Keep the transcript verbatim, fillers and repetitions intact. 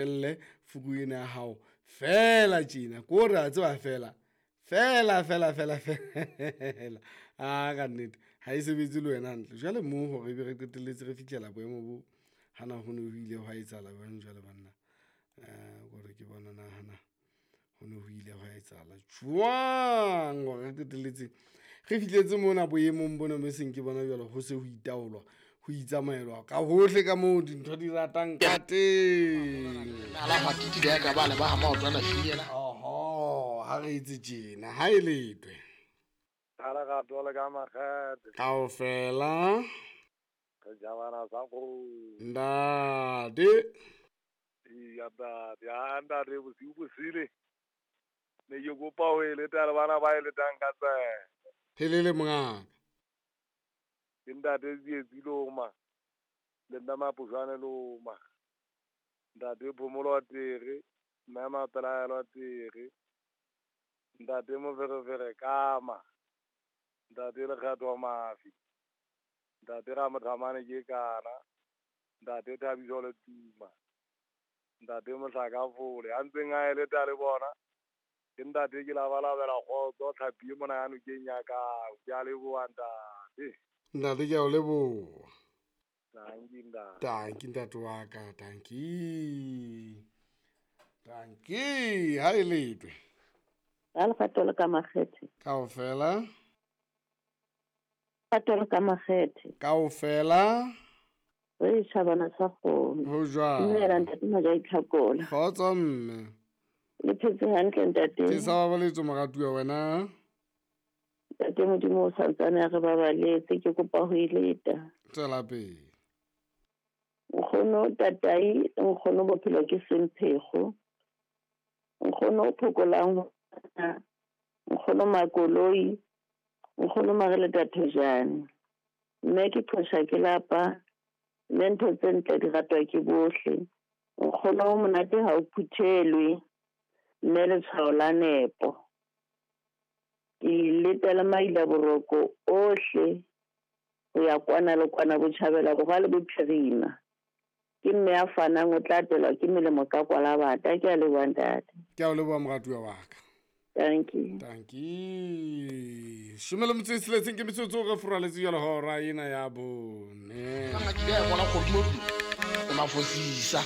Elle fuku ena ya hao fela tjena ko re a tseba fela fela fela fela fela a ka nnete ha e sebetse le wena hantle. Jwale moo hore ebe re qetelletse re fihlela boemo bo hana ho ne ho ile hwa etsahala jwang jwale banna. Eh kore ke bona nahana ho ne ho ile hwa etsahala jwang hore re qetelletse re fihletse mona boemong bona bo seng ke bona jwale ho se ho itaolwa ho itsamaelwa ka hohle ka moo dintho di ratang ka teng. Oho, ha re etse tjena ha e letwe kaofela ntate. Helele mongaka. Ke ntate Tsietsi Loma le nna Maposhwane Loma, ntate Phomolo Tere, mme Mapelaelo Tere, ntate Moferefere Kama, ntate Lekgetho Mafi, ntate Ramothamane ke kana, ntate Thabiso Letuma, ntate Mohlaka Fole a ntseng a eleta le bona. Ke ntate ke labalabela kgotso tlhapi e mona ya nokeng ya ka. Ke a leboha ntate. Ntate ke a o leboha. Tanki ntate. Tanki ntate wa ka, tanki. Tanki, ha e letwe. Ha Lerato le ka makgethe. Kaofela. Lerato le ka makgethe. Kaofela. Re tjhabana sa kgomo. Ho jwang? Dumela ntate Majai Tlhakola. Kgotso mme. Le phetse hantle ntate. Ke sa babaletso moratuwa wena. Ntate Modimo o santsane a re babaletse, ke kopa ho e leta. Tswela pele. Nkgono tatai, nkgono bophelo ke semphego. Nkgono o phokolang, nkgono makoloi, nkgono mareleta thojane. Mme ke qhosha ke lapa, mme ntho tse ntle di ratwa ke bohle. Nkgono o monate ha o phuthelwe, mme letshwao la nepo. Ke letela maila boroko ohle ho ya kwana le kwana botjhabela borwa le bophirima. Ke mme a fanang o tla atelwa ke melemo ka kwalabata. Ke a leboha ntate. Ke a o leboha moratuwa wa ka. Thank you. Thank you. Shome le motso e tsheletseng ke metsotso re furaletse jwale hora ena ya bone. Mafosisa.